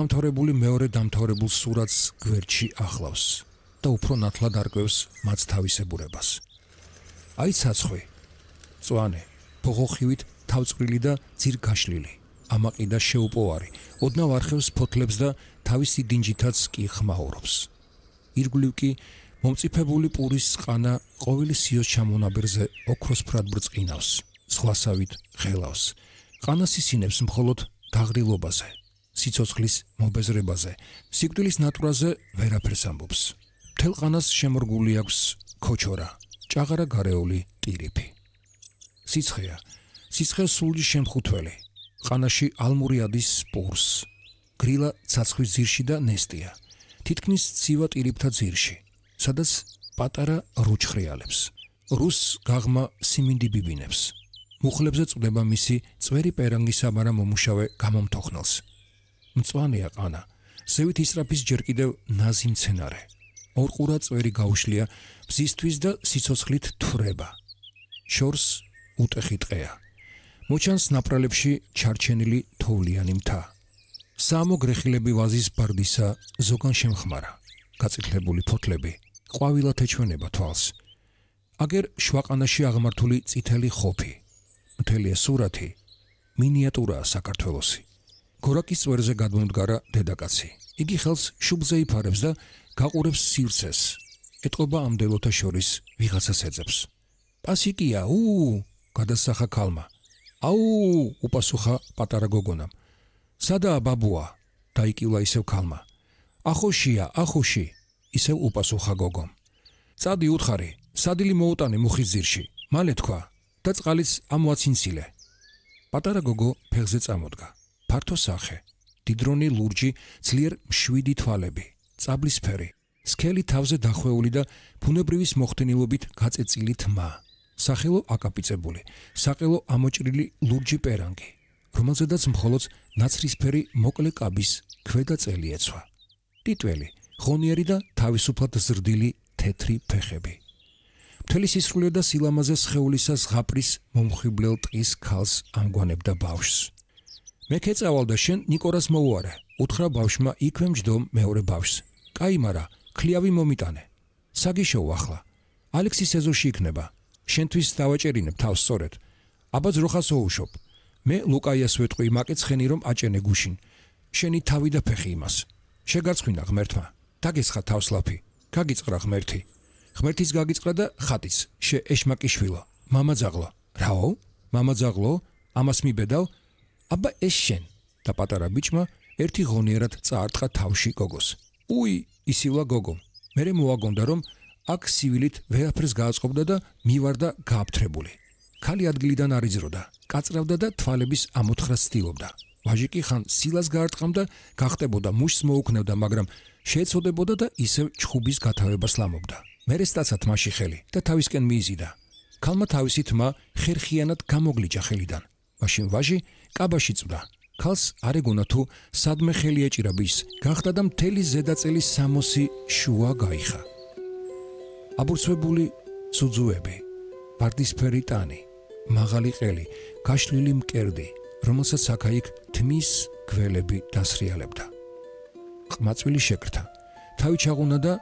დამთავრებული მეორე დამთავრებულ სურათს გვერდში ახლავს და უფრო ნათლად არკვევს მათ თავისებურებას. აი ცაცხვი, მწვანე, ბოღოხივით თავწყვრილი და ძირგაშლილი, ამაყი და შეუპოვარი, ოდნავ არხევს ფოთლებს და თავისი დინჯითაც კი ხმაურობს. ირგვლივ კი მომწიფებული პურის ყანა ყოველი სიოს ჩამონაბერზე ოქროსფრად ბრწყინავს, ზღვასავით ღელავს. ყანა სისინებს მხოლოდ დაღრილობაზე, სიცოცხლის მობეზრებაზე, სიკვდილის ნატურაზე ვერაფერს ამბობს. მთელ ყანას შემორგული აქვს ქოჩორა, ჭაღარა გარეული ტირიფი. სიცხეა, სიცხე სულჯი შემხუთველი, ყანაში ალმური ადის პურს, გრილა ცაცხვის ძირში და ნესტია, თითქმის ცივა ტირიფთა ძირში, სადაც პატარა რუჩხრიალებს. რუს გაღმა სიმინდი ბიბინებს. მუხლებზე წვდება მისი წვერი პერანგი საბარა მომუშავე გამომთოხნელს. მწვანეა ყანა, ზევით ისრაფის ჯერ კიდევ ნაზი მცენარე. ორყურა წვერი გაუშლია ბზისთვის და სიცოცხლით თვრება. შორს უტეხი ტყეა. მოჩანს ნაპრალებში ჩარჩენილი თოვლიანი მთა. საამო გრეხილები ვაზის ბარდისა ზოგან შემხმარა. გაწითლებული ფოთლები ყვავილად ეჩვენება თვალს. აგერ შვაყანაში აღმართული წითელი ხოფი. მთელი სურათი მინიატურაა საქართველოსი. გორაკის წვერზე გადმომდგარა დედაკაცი. იგი ხელს შუბლზე იფარებს და გაყურებს სივრცეს. ეტყობა ამდელოთა შორის ვიღაცას ეძებს. პასიკია, გადასახა ქალმა. აუ, უპასუხა პატარა გოგონამ. სადაა ბაბუა? დაიკივლა ისევ ქალმა. ახოშია, ახოში, ისევ უპასუხა გოგომ. წადი უთხარი, სადილი მოუტანე მუხის ძირში, მალე თქვა და წყალიც ამოაცინცილე. პატარა გოგო ფეხზე წამოდგა. ფართო სახე, დიდრონი ლურჯი, ძლიერ მშვიდი თვალები, წაბლისფერი, სქელი თავზე დახვეული და ბუნებრივის მოხდენილობით გაწეწილი თმა. სახელო აკაპიცებული, საყელო ამოჭრილი ლურჯი პერანგი, რომელზედაც მხოლოდ ნაცრისფერი მოკლე კაბის ქვედა წელი ეცვა. ტიტველი, ღონიერი და თავისუფლად ზრდილი თეთრი ფეხები. მთელი სისხლია და სილამაზე სხეულისა ზღაპრის მომხიბლელ ტყის ქალს ამგვანებდა ბავშვს. მე ქეწავალ და შენ ნიკორას მოუარე, უთხრა ბავშვმა იქვე მჯდომ მეორე ბავშვს. კაი, მარა, ქლიავი მომიტანე. საგიშოუ ახლა. ალექსის ეზოში იქნება. შენთვის დავაჭერინებ თავს სწორედ. აბა ძროხას ოუშობ. მე ლუკაიას ვეტყვი მაკეც ხენი რომ აჭენე გუშინ. შენი თავი და ფეხი იმას. შეგარცხვინა ღმერთმა. დაგესხა თავს ლაფი. გაგიწყრა ღმერთი. ღმერთის გაგიწყრა და ხატის. შე ეშმაკიშვილო. მამა ძაღლო. რაო? მამა ძაღლო? ამას მიბედავ? აბა ეს შენ. და პატარა ბიჭმა ერთი ღონიერად წაარტყა თავში გოგოს. უი, ისივლა გოგომ. მერე მოაგონდა რომ აქ სივილით ვერაფერს გააწყობდა და მივარდა გააფთრებული. ქალი ადგილიდან არიძროდა, კაწრავდა და თვალების ამოთხრას ცდილობდა. ვაჟი კი ხან სილას გაარტყამდა, გახტებოდა მუშს მოუქნევდა, მაგრამ შეეცოდებოდა და ისევ ჩხუბის გათავებას ლამობდა. მერე სტაცა თმაში ხელი და თავისკენ მიიზიდა. ქალმა თავისი თმა ხერხიანად გამოგლიჭა ხელიდან. მაშინ ვაჟი კაბაში წვდა. ქალს არ ეგონა თუ სადმე ხელი ეჭირა ბიჭს, გახდა და მთელი ზედაწელი 60 შუა გაიხა. აბურცვებული სუძუები, ვარდისფერი ტანი, მაღალი ყელი, გაშლილი მკერდი, რომელსაც აქა-იქ თმის გველები დასრიალებდა. ყმაწვილი შეკრთა, თავი ჩაღუნა და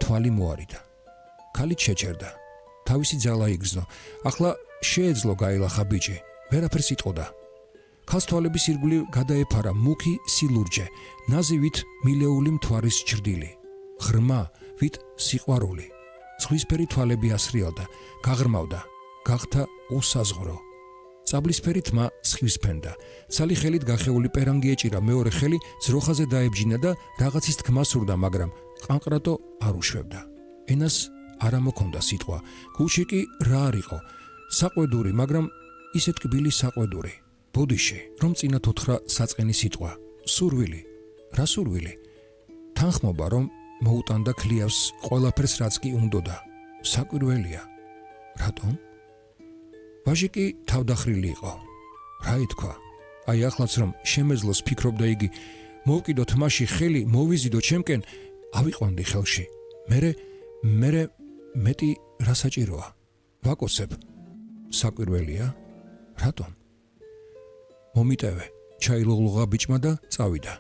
თვალი მოარიდა. ქალი შეჩერდა, თავისი ძალა იგრძნო. ახლა შეეძლო გაილახა ბიჭი, ვერაფერს იტყოდა. ქალს თვალების ირგვლივ გადაეფარა მუქი სილურჯე, ნაზივით მილეული მთვარის ჭრდილი, ღრმა ვით სიყვარული. ზღვისფერი თვალები ასრიალდა, გაღრმავდა, გახდა უსაზღვრო. წაბლისფერი თმა სხივსფენდა. ცალი ხელით გახეული პერანგი ეჭირა, მეორე ხელი ძროხაზე დაებჯინა და რაღაცის თქმა სურდა, მაგრამ ყანყრატო არ უშვებდა. ენას არ ამოქონდა სიტყვა. გულში კი რა არისო? საყვედური, მაგრამ ისე ტკბილი საყვედური. ბოდიში, რომ წინათ უთხრა საწყენი სიტყვა. სურვილი. რა სურვილი? თანხმობა, რომ მოუტანდა ქლიავს ყველაფერს, რაც კი უნდოდა. საკვირველია. რატომ? ვაჟი კი თავდახრილი იყო. რა ითქვა? აი ახლაც რომ შემეძლოს ფიქრობდა იგი, მოვკიდო თმაში ხელი, მოვიზიდო ჩემკენ, ავიყვანდი ხელში. მერე მეტი რა საჭიროა? ვაკოცებ. საკვირველია? რატომ? მომიტევე, ჩაილოღლოღა ბიჭმა და წავიდა.